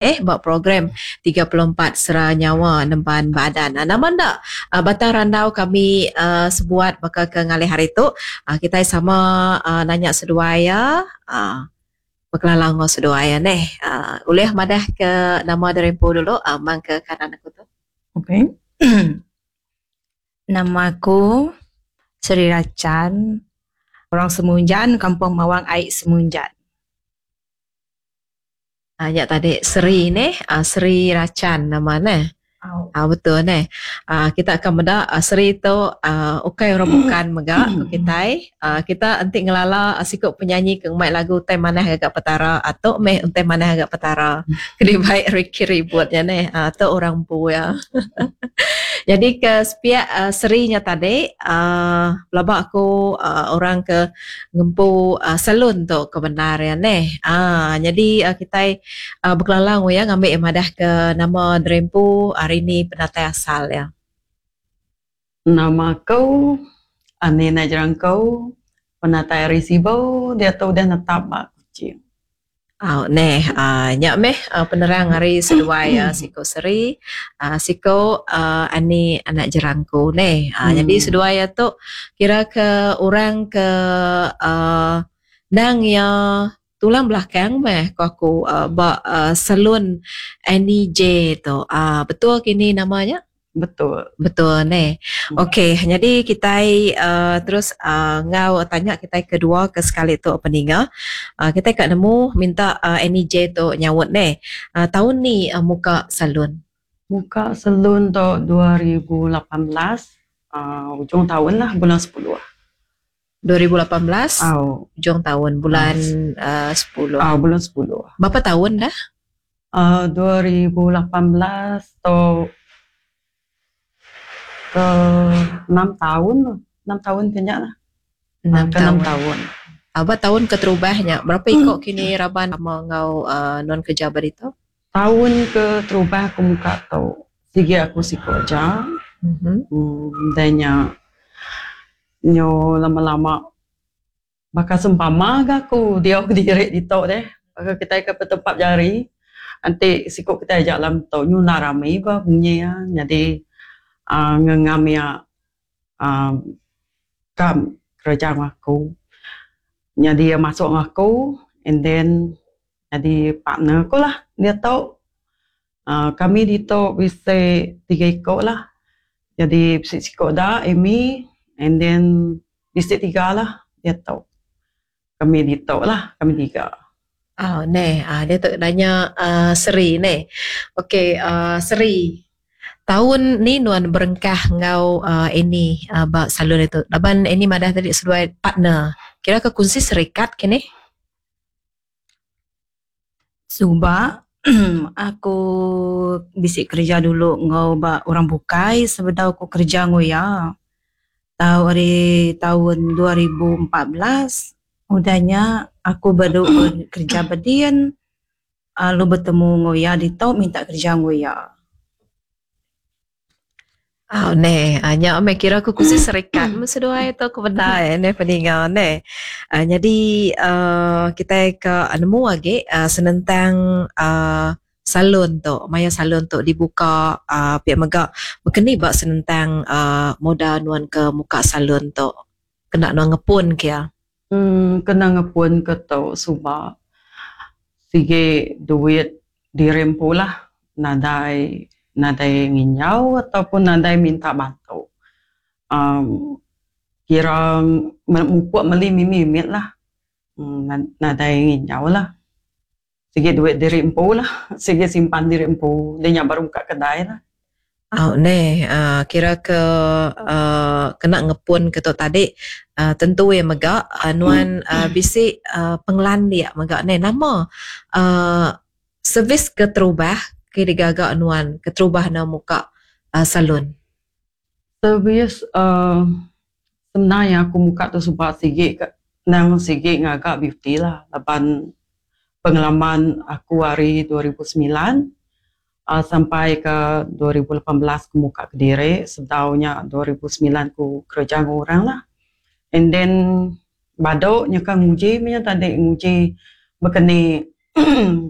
Eh ba program 34 Sera Nyawa Nemban Badan. Nama enda batang randau kami sebuat baka ke ngalih hari tu kitai sama nanya seduai iya bekelala enggau seduai iya neh. Ulih madah ke nama diri empu dulu mang ke kanan aku tu. Okay. Nama aku Seri Rachan orang Semunjan Kampung Mawang Ai Semunjan. Nya tadi Seri neh, Seri Rachan nama neh. Au betul neh. Kita akan meda Seri tu ukai orang bukan mega ku kitai. Kita enti ngelala siku penyanyi ke ngemai lagu Utai Manah Gaga Petara tu meh Utai Manah Gaga Petara ke dibai Ricky Ribut nya neh. Tu orang empu iya. Nyadi ke sepiak Seri nya tadi pelaba aku orang ke ngempu salon tu ke bendar iya neh. Aaa nyadi kitai bekelala enggau iya ngambi iya madah ke nama diri empu hari ni penatai asal iya. Nama aku Ani Najerangkau penatai ari Sibu diatu udah netap ba Kuching. Au neh aaa nya meh penerang ari seduai siku Seri aaa siku aaa Ani anak Jerangku neh. Aaa nyadi seduai iya tu kira ke orang ke aaa endang iya tulang belakang meh ku aku ba salon Annie J tu. Aaa betul kini nama nya? Betul. Betul neh. Okey, nyadi kitai uhh terus uhh enggau tanya kitai kedua ke sekali tu peninga. uhh Kitai ka nemu minta uhh Annie J tu nyaut neh. uhh Taun ni muka salon? Muka salon tu 2018 uhh ujung taun lah bulan sepuluh. 2018 ujung taun bulan uhh sepuluh. Au bulan sepuluh. Berapa taun dah? Uhh 2018 tu ke enam taun enam taun ke nya lah. Enam ke enam taun. Ba taun keterubah nya berapa iko kini raban sama enggau uhh nuan kerja ba ditu? Taun keterubah aku muka tu sigi aku siko aja uhh udah nya nyu lama lama Baka sempama ga aku diau kediri ditu deh. Baka kitai ke betempap jari enti siku kitai aja dalam tu nyunar rami ba munyi iya nyadi aaa ngengam iya aaa ka kereja enggau aku. Nyadi iya masuk enggau aku and then nyadi partner aku lah diatu. Aaa kami ditu bisi tiga iku lah. Nyadi bisi siku da Amy and then Bisi tiga lah diatu. Kami ditu lah kami tiga. Au neh uhh diatu nanya uhh Seri neh. Okey uhh Seri taun ni nuan berengkah enggau uhh Annie uhh ba salon ditu laban Annie madah tadi seduai partner. Kira ke kunsi serikat kinih. Suba aku bisi kereja dulu enggau ba orang bukai sebedau ku kereja enggau iya. Tau ari taun 2014 udah nya aku baru kereja bedin lalu betemu enggau iya ditu minta kereja enggau iya. Au neh, nya meh kira ku kursi serikat meh seduai tu ku bendar neh peninga neh. uhh Nyadi uhh kitai ka nemu agi uhh senentang uhh salon tu maya salon tu dibuka uhh pia mega baka ni ba senentang uhh modal nuan ke muka salon tu kena nuan ngepun ke iya. Uhh kena ngepun ke tu suba sigi duit diri empu lah nadai nadai nginjau ataupun nadai minta bantu uhh kira mupuk meli mimit mimit lah nadai nginjau lah sigi duit diri empu lah sigi simpan diri empu deh nya baru muka kedai lah. Au neh uhh kira ke uhh kena ngepun ke tu tadi uhh tentu iya mega nuan uhh bisi uhh pengelandik mega neh nama uhh servis keterubah ke digaga nuan keterubah ne muka salon. Servis uhh senang iya aku muka tu suba sigi ka nang sigi ngaga beauty lah laban pengalaman aku ari 2009 uhh sampai ke 2018 ku muka kediri sebedau nya 2009 ku kereja enggau orang lah. And then badu nyeka nguji meh nya tadi nguji baka ni.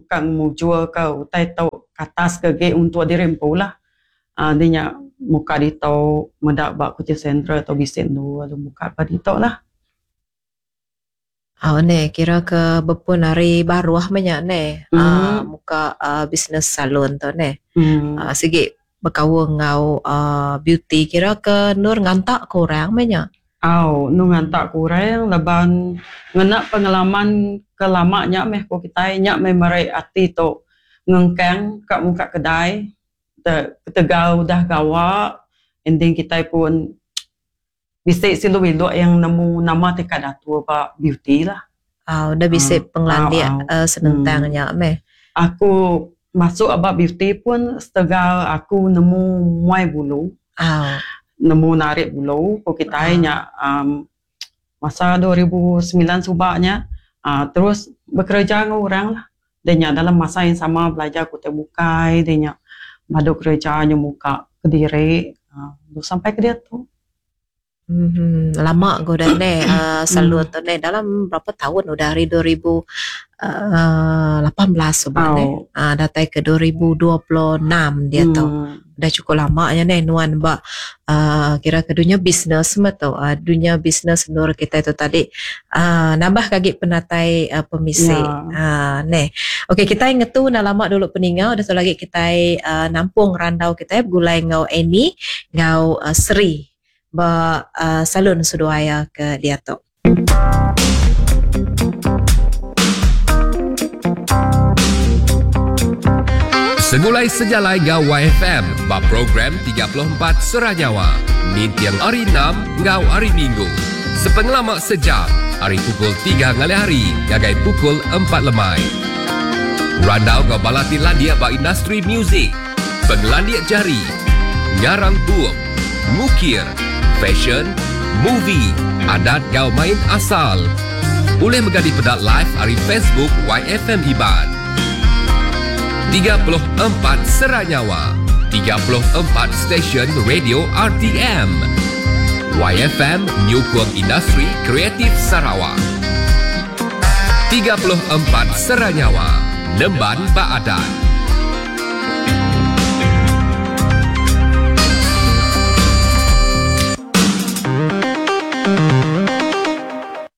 Ka ngemujurka utai tu ke atas ke agi untuk diri empu lah. Aaa di nya muka ditu meda ba Kuching Central tu bisi endur lalu muka ba ditu lah. Au neh kira ke bepun ari baruh meh nya neh aaa muka aaa bisnes salon tu neh. Aaa sigi bekaul enggau aaa beauty kira ke endur nganta ke orang meh nya. Au endur nganta ke orang laban ngena pengalaman ke lama nya meh ku kitai nya meh meri ati tu ngengkang ka muka kedai ketegal udah gawa ending kitai pun Bisi silu indu yang nemu nama ti ka datur ba beauty lah. Au udah bisi pengelandik senentang nya meh. Aku masuk aba beauty pun setegal aku nemu muai bulu. Nemu narik bulu ku kitai nya uhh masa 2009 suba nya uhh terus bekereja enggau orang lah. Deh nya dalam masa yang sama belajar ku utai bukai deh nya badu kereja nyemuka kediri uhh sampai ke diatu. Uhh lama ga udah neh uhh salon tu neh dalam berapa taun udah ari 2018 suba neh uhh datai ke 2026 diatu. Udah cukup lama nya neh nuan ba uhh kira ke dunya bisnes meh tu uhh dunya bisnes endur kitai tu tadi uhh nambah ke agi penatai uhh pemisi uhh neh. Okey kitai ngetu enda lama dulu peninga udah tu lagi kitai uhh nampung randau kitai begulai enggau Annie enggau Sri ba salon seduai iya ke diatu. Segulai sejalai enggau YFM ba program 34 Serah Nyawa ninting Hari Enam enggau Hari Minggu sepengelama sejam ari pukul tiga ngalih hari ngagai pukul empat lemai. Randau enggau bala ti landik ba industri muzik, pengelandik jari, ngarang bup, ngukir, fashion, movie, adat enggau main asal. Ulih mega dipeda live ari Facebook YFM Iban. 34 Sera Nyawa, 34 stesen radio RTM. YFM nyukung industri kreatif Sarawak. 34 Sera Nyawa, nemban ba adat.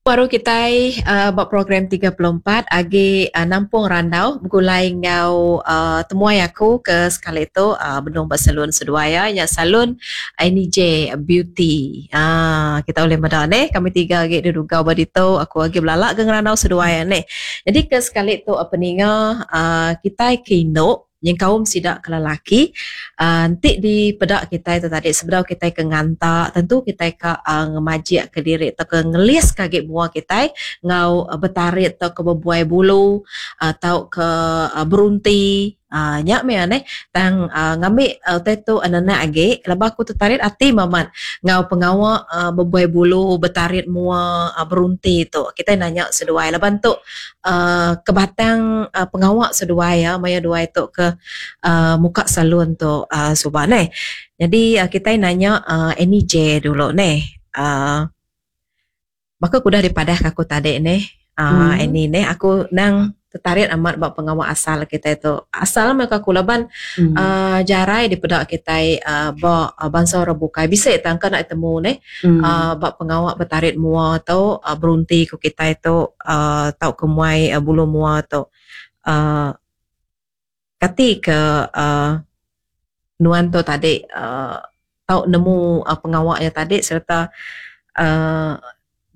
Baru kitai uh, ba program 34 agi uh, nampung randau begulai enggau uh, temuai aku ke sekali tu uh, benung ba salon seduai ya nya salon NJ Beauty. Ah kita ulih meda neh kami tiga agi dudugau ba ditu aku agi belala ke ngerandau seduai ya neh. Nyadi ke sekali tu peninga uhh kitai ke indu nyengkaum sida ke lelaki uhh enti dipeda kitai tu tadi sebedau kitai ke nganta tentu kitai ka uhh ngemajik ke diri tauka ngelis ke agi mua kitai enggau betarit tauka bebuai bulu uhh tauka berunti. Aaa nya meh aneh tang aaa ngambi utai tu nenak agi laban aku tetarit ati mamat enggau pengawa aaa bebuai bulu betarit mua aaa berunti tu. Kitai nanya seduai laban tu aaa kebatang aaa pengawa seduai iya maya duai tu ke aaa muka salon tu aaa suba neh. Nyadi kitai nanya aaa Annie J dulu neh aaa Baka ke udah dipadah ke aku tadi neh aaa Annie neh aku endang tetarit amat ba pengawa asal kitai tu. Asal meh ku aku laban aaa jarai dipeda kitai aaa ba bansa orang bukai bisi tang ka enda temu neh aaa ba pengawa betarit mua tu aaa berunti ku kitai tu aaa tauka muai bulu mua tu aaa kati ke aaa nuan tu tadi aaa tau nemu pengawa iya tadi sereta aaa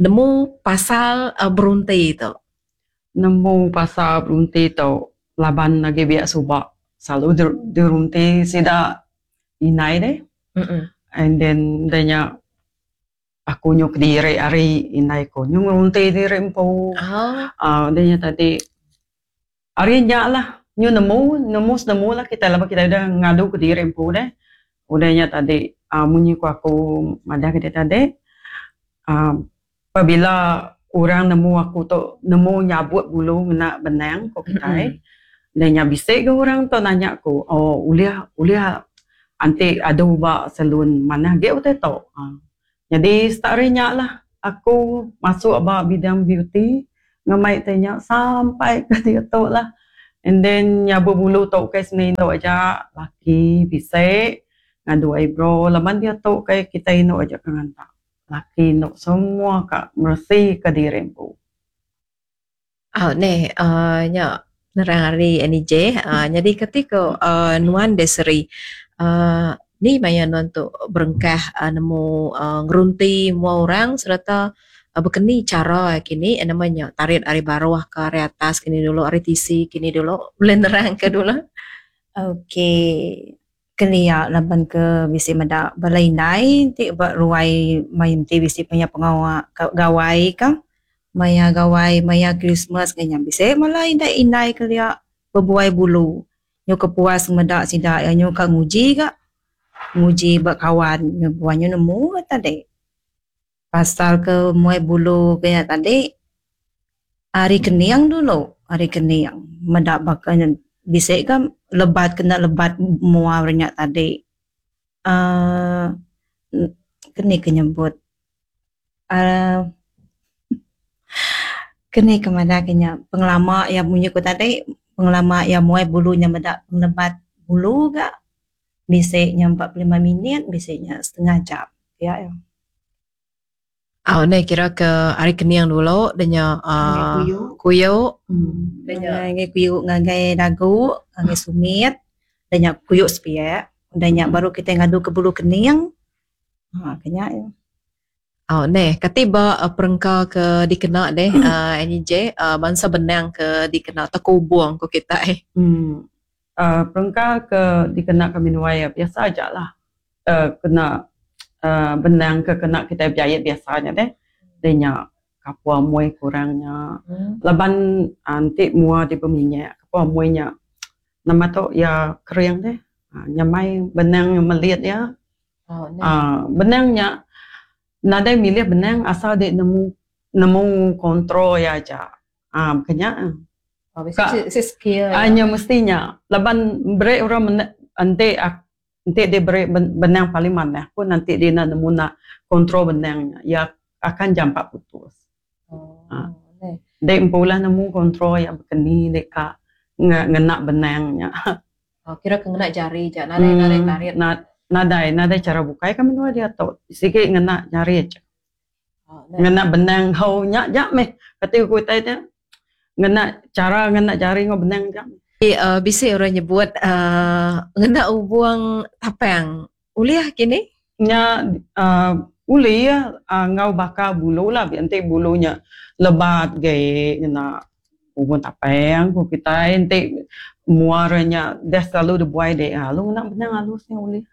nemu pasal berunti tu. Nemu pasal berunti tu laban agi biak suba selalu dirunti sida indai deh and then udah nya aku nyu kediri ari indai ku nyu ngerunti diri empu aaa udah nya tadi. Ari nya lah nyu nemu, nemu senemu lah kitai laban kitai udah ngadu kediri empu deh. Udah nya tadi aaa munyi ku aku madah ke dek tadi aaa pabila orang nemu aku tu nemu nyabut bulu ngena benang ku kitai. Udah nya bisi ga orang tu nanya ku oh ulih ulih anti adu ba salon manah agi utai tu aaa. Nyadi start ari nya lah aku masuk ba bidang beauty. Ngemai tai nya sampai ke diatu lah. And then nya bebulu tu ukai seni indu aja laki bisi ngadu eyebrow laban diatu kai kitai indu aja ke nganta. Laki indu semua ka meresi ka diri empu. Au neh uhh nya nerang ari NEJ uhh nyadi kati ko uhh nuan deh seri uhh ni maya nuan tu berengkah nemu uhh ngerunti mua orang sereta Baka ni chara kini nama nya tarit ari baruh ke ari atas kini dulu ari tisi kini dulu ulih nerang ke dulu. Okey kelia laban ke bisi meda bala indai ti ba ruai main ti bisi maya pengawa gawai ka maya gawai maya Krismas ngah nya bisi bala indai indai kelia bebuai bulu nyau ke puas meda sida iya nyau ka nguji ga nguji ba kawan nyau nemu ga tadi. Pasal ke muai bulu ke nya tadi ari kening dulu ari kening meda baka nya bisi ga lebat kena lebat mua re nya tadi uhh keni ke nyebut uhh keni ke madah ke nya pengelama iya munyi ku tadi pengelama iya muai bulu nya meda lebat bulu ga Bisi nya 45 minit, bisi nya setengah jam. Pia iya. Au neh kira ke ari kening dulu da nya uhh kuyu. Ngagai kuyu ngagai dagu, ngagai sumit, da nya kuyu sepiak. Udah nya baru kitai ngadu ke bulu kening. Ha ke nya iya. Au neh kati ba perengka ke dikena deh uhh NJ bansa benang ke dikena tekubung ku kitai. Uhh perengka ke dikena kami nuai biasa aja lah uhh kena uhh benang ke kena kitai bejait biasa nya deh. Deh nya kapur amoi kurang nya laban enti mua ti beminyak kapur amoi nya nama tu iya kering deh nyamai benang melit iya. Aaa benang nya nadai milih benang asal dek nemu nemu control iya aja aaa baka nya. Ka aaa nya mesti nya laban beri orang mene enti enti dek beri benang paling manah pun enti dek enda nemu nak control benang nya iya akan jampat putus. Aaa dek empu lah nemu control iya baka ni dek ka ngena benang nya. Oh, kira ke ngena jari ja, nadai hmm, nadai tarit. Na, nadai, nadai cara bukai kami dua dia tu. Sigi ngena jari aja. Oh, ngena benang hau nya ja meh. Kati ku utai nya. Ngena cara ngena jari ngau benang ja. Uh, bisi orang nyebut uh, ngena ubung tapang. Ulih kini? Nya uh, ulih uh, ngau baka bulu lah. Enti bulu nya lebat ge ngena Ubun tapang ku kitai enti mua re nya deh selalu dibuai deh lalu ngena benang alus nya ulih.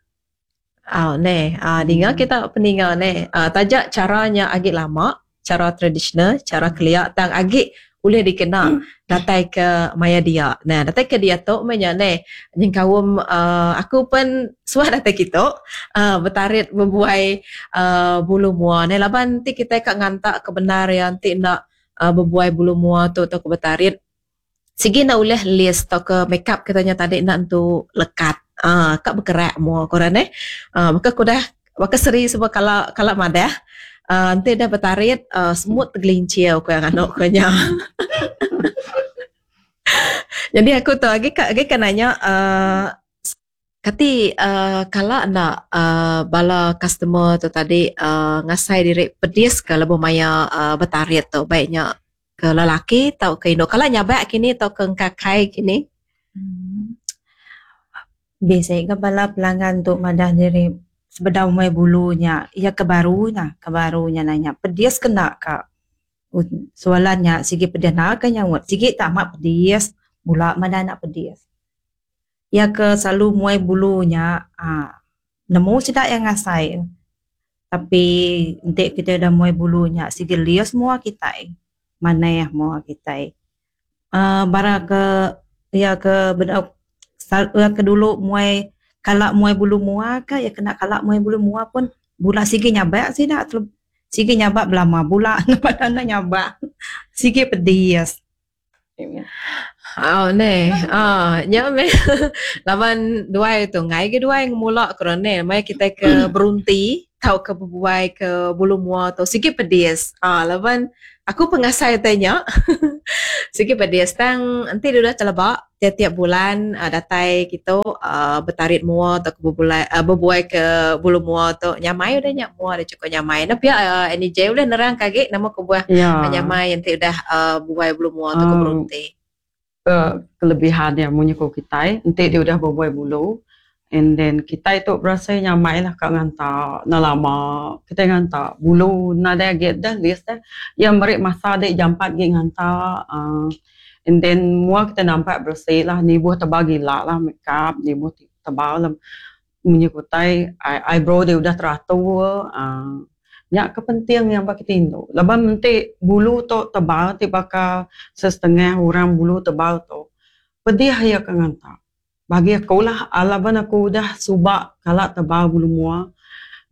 Au neh uhh dinga kita peninga neh uhh taja chara nya agi lama chara tradisional chara kelia tang agi ulih dikena datai ke maya dia. Nah datai ke diatu meh nya neh nyengkaum uhh aku pen suah datai kitu uhh betarit bebuai uhh bulu mua neh laban enti kitai ka nganta ke bendar iya enti enda bebuai bulu mua tu tauka betarit sigi enda ulih list tauka makeup kita nya tadi enda entu lekat uhh ka bekerak mua ku orang neh uhh baka ku udah baka seri suba kala kala madah uhh enti deh betarit uhh semut tegelincir ku iya nganu ku nya. Jadi aku tu agi ka agi ka nanya uhh Kati uhh kala enda uhh bala customer tu tadi uhh ngasai diri pedis ka lebuh maya uhh betarit tu baik nya ke lelaki tauka indu. Kala nyabak kini tauka engkakai kini? Bisi ga bala pelanggan tu madah diri sebedau meh bulu nya iya ke baru nya ke baru nya nanya pedis ke enda ka. Soalan nya sigi pedis enda ka nyaut sigi tak amat pedis bula madah enda pedis. Iya ke selalu muai bulu nya aaa nemu sida iya ngasai tapi enti kitai udah muai bulu nya sigi lius mua kitai manah mua kitai aaa bara ke iya ke bedau iya ke dulu muai kala muai bulu mua ka iya kena kala muai bulu mua pun bula sigi nyabak sida sigi nyabak belama bula ne enda nyabak sigi pedis. Au neh aaa nya meh laban duai tu enggai ga duai ngemula ku orang neh maya kitai ke berunti tauka bebuai ke bulu mua tu sigi pedis aaa laban. Aku pengasai utai nya. Sigi pedis tang enti dulu teleba tiap-tiap bulan uhh datai kitu uhh betarit mua tauka bebulai uhh bebuai ke bulu mua tu nyamai udah nya mua deh chukup nyamai. Enda pia uhh Annie J ulih nerang ke agi nama kebuah nyamai enti udah uhh bebuai bulu mua tauka berunti. Ke kelebihan iya munyi ku kitai enti dia udah bebuai bulu and then kitai tu berasai nyamai lah ka nganta enda lama kitai nganta bulu nadai agi deh list deh iya meri masa deh jampat agi nganta uhh and then mua kitai nampak beresi lah nibuh tebal gila lah makeup nibuh tebal lah. Munyi ku utai eyebrow deh udah teratur uhh nya ke penting iya ba kiti indu laban enti bulu tu tebal ti baka sesetengah orang bulu tebal tu pedih iya ke nganta. Bagi aku lah laban aku udah suba kala tebal bulu mua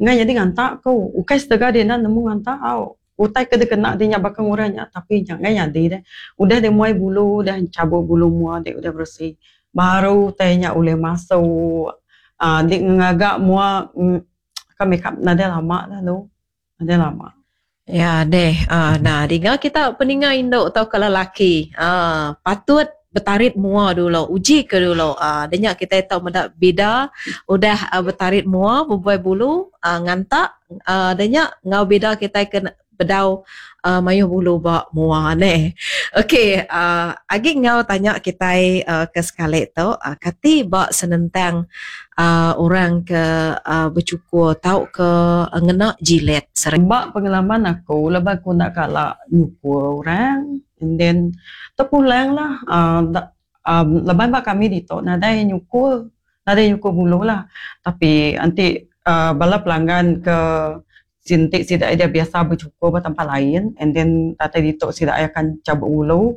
enggai nyadi nganta ku ukai setega deh enda nemu nganta au utai ke dikena deh nya baka ngurang nya tapi nya enggai nyadi deh udah deh muai bulu udah chabut bulu mua deh udah beresi baru utai nya ulih masuk uhh enti ngaga mua ka makeup nadai lama lalu nadai lama. Ya deh uhh nah dinga kita peninga indu tauka lelaki uhh patut betarit mua dulu uji ke dulu uhh da nya kitai tau meda bida udah betarit mua bebuai bulu uhh nganta uhh da nya enggau bida kitai ke bedau uhh mayuh bulu ba mua neh. Okey uhh agi enggau tanya kitai uhh ke sekali tu uhh kati ba senentang uhh orang ke uhh bechukur tauka ngena jilet. Ba pengalaman aku laban aku enda kala nyukur orang and then tepulang lah uhh laban ba kami ditu nadai nyukur nadai nyukur bulu lah tapi enti uhh bala pelanggan ke Enti sida iya biasa bechukur ba tempat lain and then datai ditu sida iya akan chabut ulu.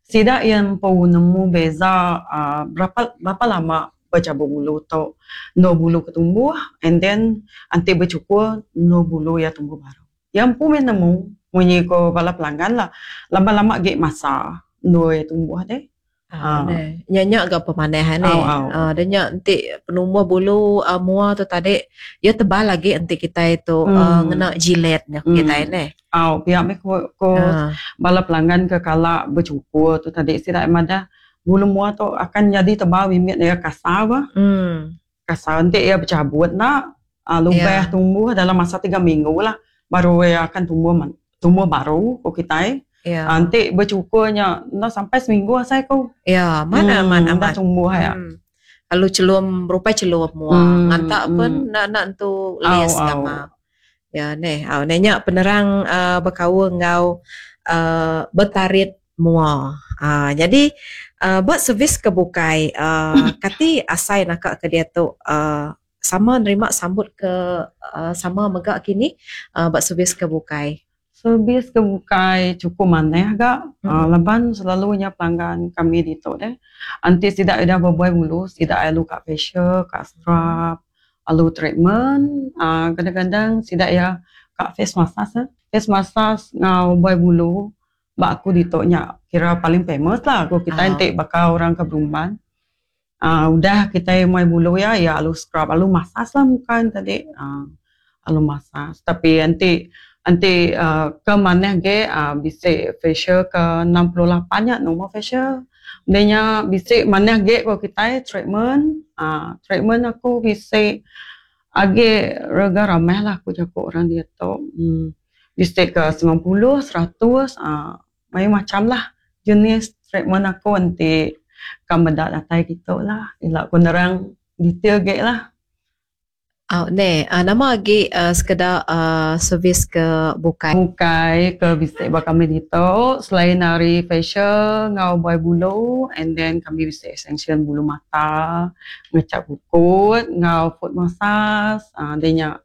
Sida iya empu nemu beza uhh berapa berapa lama bechabut bulu tu endur bulu ke tumbuh and then enti bechukur endur bulu iya tumbuh baru. Iya empu meh nemu munyi ko bala pelanggan lah laban lama agi masa endur iya tumbuh deh. Ah, nya nya ga pemanah ane. Ah, da nya enti penumbuh bulu uh, mua tu tadi iya tebal agi enti kitai tu hmm. uh, ngena jilet nya hmm. kitai ne. Au, pia meh ko, ko uh. bala pelanggan ke kala bercukur tu tadi sida madah bulu mua tu akan jadi tebal mimit dia kasar bah. Hmm. Kasar enti iya bechabut enda uh, lubah yeah. tumbuh dalam masa 3 minggu lah baru iya akan tumbuh tumbuh baru ku kitai. Yeah. Uh, enti bercukur nya enda sampai seminggu asai ku. Ya, yeah, mana amat amat tumbuh ya. Lalu chelum berupai chelum mua. Nganta pun enda enda entu lis nama. Ya neh, au neh nya penerang uh, bekaul enggau uh, betarit mua. Uh, jadi uh, ba servis ke bukai uh, kati asai naka ke diatu uh, sama nerima sambut ke sama mega kini ba servis ke bukai. Servis ke bukai chukup manah ga laban selalu nya pelanggan kami ditu deh enti sida udah bebuai ulu sida lalu ka facial ka scrub lalu treatment uhh kadang-kadang sida iya ka face massage eh face massage enggau buai bulu ba aku ditu nya kira paling famous lah ku kitai enti baka orang ke berumban. uhh udah kitai muai bulu iya, iya alu scrub alu massage lah muka ne tadi uhh alu massage tapi enti enti uhh ke manah agi uhh bisi facial ke 68 nya number facial udah nya bisi manah agi ku kitai treatment uhh treatment aku bisi agi rega ramah lah ku jaku orang diatu uhh bisi ke 90 100 uhh Mayuh macham lah jenis treatment aku enti ka meda datai kitu lah. Ila ku nerang detail agi lah. Au neh, nama agi sekeda servis ke bukai? Bukai ke bisi ba kami ditu selain ari facial enggau buai bulu and then kami bisi extension bulu mata, ngechat kukut enggau foot massage uhh deh nya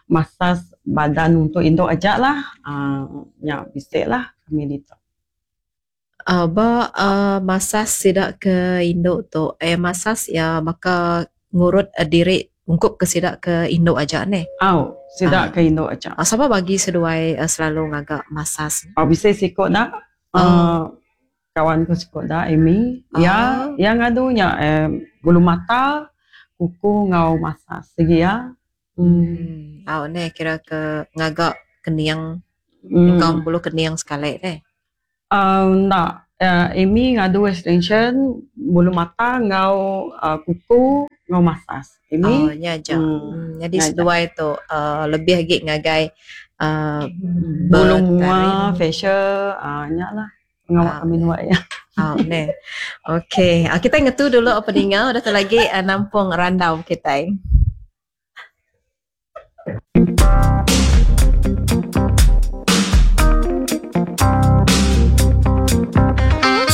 massage badan untuk indu aja lah uhh nya bisi lah kami ditu. Uhh ba uhh massage sida ke indu tu eh massage iya baka ngurut diri ungkup ke sida ke indu aja neh. Au sida ke indu aja. Sapa bagi seduai selalu ngaga massage? Au bisi siku da uhh kawan ku siku da Amy iya iya ngadu nya eh bulu mata kuku enggau massage sigi iya. Au neh kira ke ngaga kening. Nyengkaum bulu kening sekali deh. Enda, Amy ngadu extension bulu mata enggau kuku enggau massage. Amy. Oh nya aja. Nyadi seduai tu lebih agi ngagai bulu mua, facial nya lah. Pengawa kami nuai iya. Au neh. Okey, kitai ngetu dulu peninga udah tu lagi nampung randau kitai.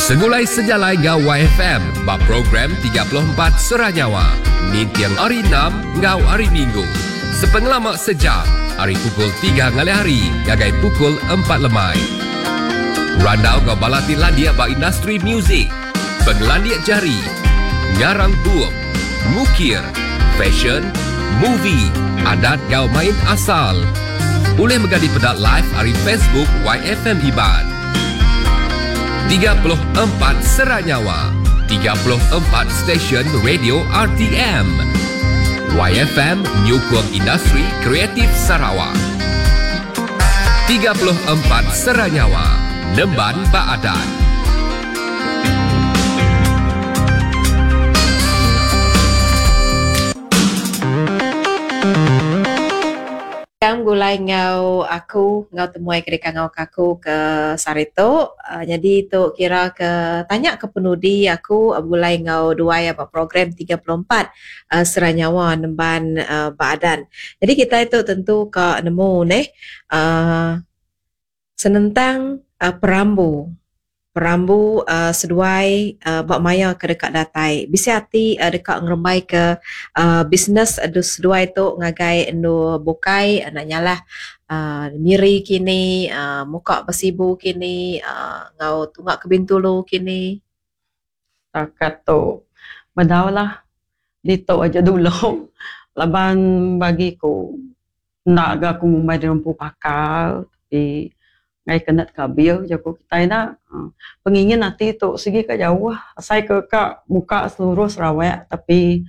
Segulai sejalai enggau YFM ba program 34 Sera Nyawa ninting hari Enam enggau hari Minggu sepengelama sejam ari pukul tiga ngalih hari ngagai pukul empat lemai. Randau enggau bala ti landik ba industri muzik, pengelandik jari, ngarang bup, ngukir, fesyen, movie, adat enggau main asal. Ulih mega dipeda live ari Facebook YFM Iban. 34 Sera Nyawa, 34 stesen radio RTM. YFM nyukung industri kreatif Sarawak. 34 Sera Nyawa, nemban ba adat. Tang begulai enggau aku enggau temuai ke dikangau ke aku ke sehari tu. Nyadi tu kira ke tanya ke penudi aku begulai enggau duai ba program 34 Sera Nyawa nemban ba adan. Nyadi kitai tu tentu ka nemu neh uhh senentang perambu. Perambu uhh seduai uhh ba maya ke deka datai. Bisi ati uhh deka ngerembai ke uhh bisnes seduai tu ngagai endur bukai enda nyalah uhh Miri kini uhh muka ba Sibu kini uhh enggau tunga ke Bintulu kini. Takat tu bedau lah ditu aja dulu laban bagi ku enda ga ku ngumbai diri empu pakar tapi ngaih ke enda tekabil jaku kitai enda. Pengingin ati tu sigi ka jauh asai ke ka muka seluruh Sarawak tapi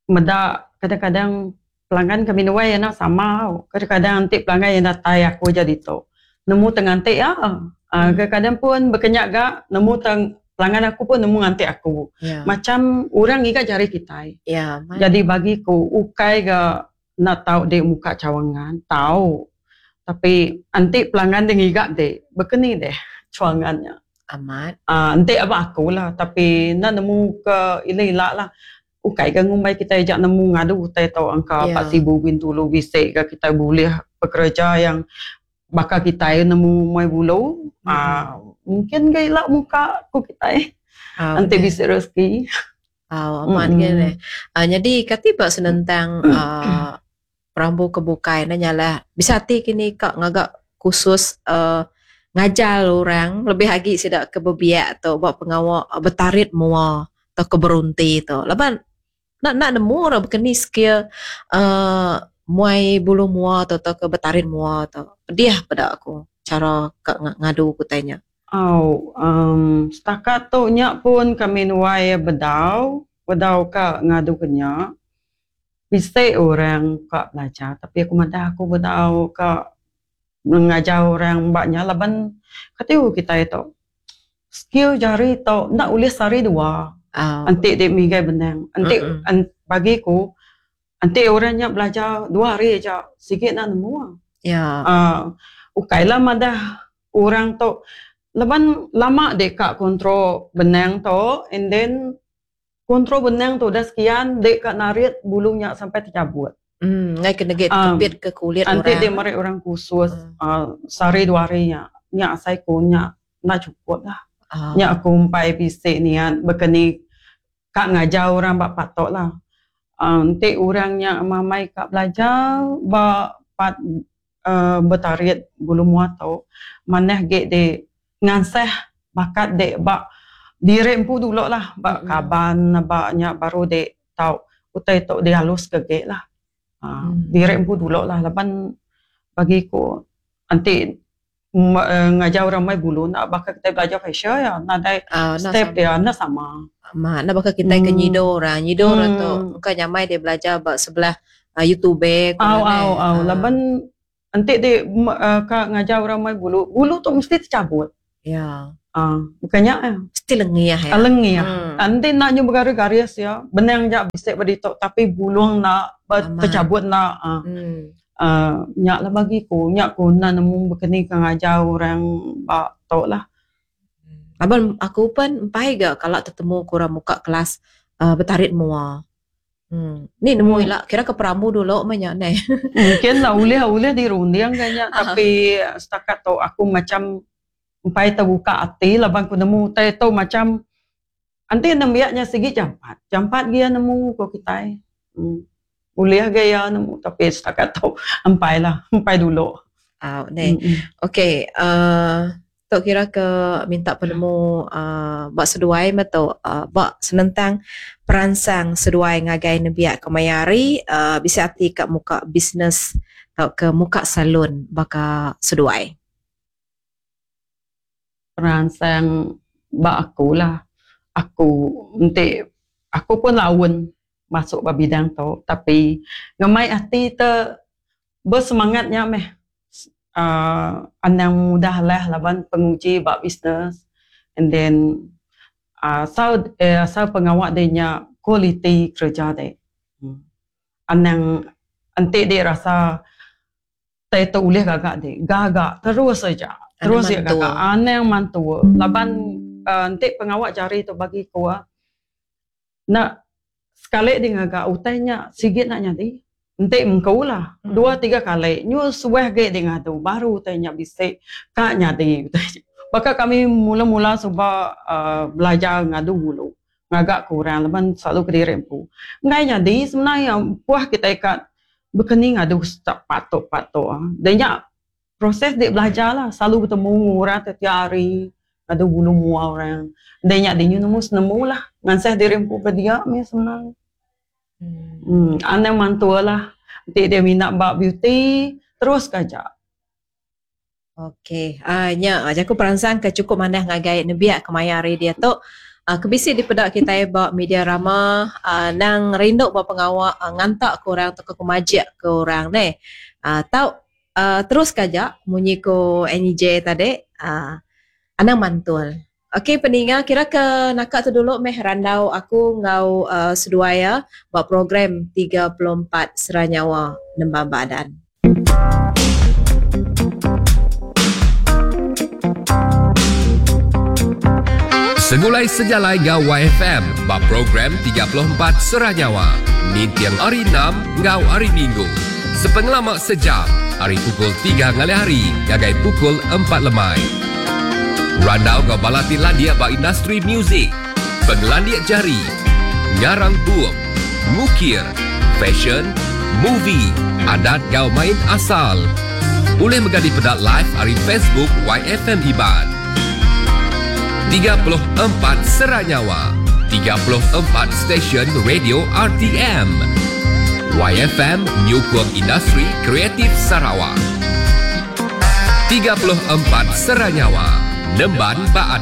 meda kadang-kadang pelanggan kami nuai enda sama kadang-kadang enti pelanggan iya datai aku aja ditu nemu te nganti iya uhh kadang-kadang pun baka nya ga nemu te pelanggan aku pun nemu nganti aku macam orang ngiga jari kitai jadi bagi ku ukai ga enda tau dek muka cawangan tau tapi enti pelanggan dek ngiga dek baka ni deh cawangan nya. Amat. Uhh enti aba aku lah tapi enda nemu ke ila-ila lah. Ukai ga ngumbai kitai aja nemu ngadu utai tu angka ba Sibu Bintulu bisi ga kitai bulih pekereja yang baka kitai nemu muai bulu uhh mungkin ga ila muka ku kitai enti bisi rezeki. Au amat nya neh. Nyadi kati ba senentang uhh perambu ke bukai ne nyalah bisi ati kini ka ngaga kursus uhh ngajar orang lebih agi sida ke bebiak tu ba pengawa betarit mua. Tauka berunti tu laban enda enda nemu orang baka ni skill uhh muai bulu mua tu tauka betarit mua tu. Pedih peda aku chara ka ngadu ku utai nya. Au uhh setakat tu nya pun kami nuai bedau, bedau ka ngadu ke nya. Bisi orang ka belajar tapi aku madah aku bedau ka ngajar orang ba nya laban kati kitai tu. Skill jari tu enda ulih sehari dua enti dek migai benang. Enti bagi ku enti orang nya belajar dua hari aja sigi enda nemu. Aaa ukai la madah orang tu laban lama dek ka control benang tu and then control benang tu udah sekian dek ka narit bulu nya sampai techabut. Enggai ke negi kepit ke kulit orang. Enti dek meri orang khusus sehari dua hari nya, nya asai ku nya enda chukup lah. Nya aku empai bisi niat baka ni ka ngajar orang ba part tu lah. Enti orang nya mamai ka belajar ba part uhh betarit bulu mua tu manah agi dek ngansah bakat dek ba diri empu dulu lah ba kaban ba nya baru dek tau utai tu dialus ke agi lah. uhh Diri empu dulu lah laban bagi ku enti ngajar orang mai bulu enda baka kitai belajar facial iya nadai step iya enda sama. Amat enda baka kitai ke nyido orang. Nyido orang tu engka nyamai dia belajar ba sebelah youtube ku Au au au laban. Enti di ka ngajar orang mai bulu, bulu tu mesti techabut. Ya. Ah, bukan nya eh. Mesti lengih ya. Lengih. Hmm. Enti enda nyu begaris-garis ya, benang ja bisi ba ditu tapi bulung enda techabut enda. Ah. Hmm. Uh, nya lah bagi ku, nya ku enda nemu bekeni ka ngajar orang ba tu lah. Laban aku pen empai ga kala tetemu ku orang muka kelas uh, betarit mua. Hmm. Ni nemu ila kira ke perambu dulu meh nya neh. Mungkin lah ulih ulih dirunding ga nya tapi setakat tu aku macam empai terbuka ati laban ku nemu utai tu macam enti nembiak nya sigi jampat. Jampat gi iya nemu ko kitai. Hmm. Ulih ga iya nemu tapi setakat tu empai lah empai dulu. Au neh. Okey uhh Tu kira ke minta penemu uhh ba seduai meh tu uhh ba senentang peransang seduai ngagai nembiak kemaya hari uhh bisi ati ka muka bisnes tauka muka salon baka seduai. Peransang ba aku lah aku enti aku pun laun masuk ba bidang tu tapi ngemai ati te besemangat nya meh uhh anang mudah alah laban penguji ba bisnes and then uhh asal asal pengawa deh nya kualiti kereja deh. Anang enti deh rasa tai tu ulih gaga deh gaga terus aja terus iya gaga anang mantu laban uhh enti pengawa jari tu bagi ku Enda sekali di ngaga utai nya sigi enda nyadi. Enti mengku lah dua tiga kali nyu suah agi di ngadu baru utai nya bisi ka nyadi utai nya. Baka kami mula mula suba uhh belajar ngadu bulu ngaga ke orang laban selalu kediri empu. Enggai nyadi sebenar iya puah kitai ka bekeni ngadu step part tu part tu. Da nya Proses dik belajar lah selalu betemu enggau orang tiap tiap hari ngadu bulu mua orang. Enda nya dinyu nemu senemu lah ngansah diri empu ke dia mih senang. Uhh anang mantul lah enti dia minat ba beauty terus ke aja. Ok uhh nya jaku peransang ke chukup manah ngagai nembiak kemaya hari diatu uhh ke bisi dipeda kitai ba media rama uhh nang rindu ba pengawa nganta ke orang tauka ke majik ke orang neh. Uhh tau uhh terus ka aja munyi ku NEJ tadi uhh anang mantul. Okey peninga kira ke naka tu dulu meh randau aku enggau uhh seduai iya ba program 34 Sera Nyawa Nembang Baadan. Segulai sejalai enggau YFM ba program 34 Sera Nyawa ninting hari Enam enggau Hari Minggu. Sepengelama sejam, ari pukul tiga ngalih hari ngagai pukul empat lemai. Randau enggau bala ti landik ba industri muzik, pengelandik jari, ngarang bup, ngukir, fesyen, movie, adat enggau main asal. Ulih mega dipeda live ari Facebook YFM Iban. 34 Sera Nyawa, 34 stesen radio RTM. YFM nyukung industri kreatif Sarawak. 34 Sera Nyawa, nemban ba.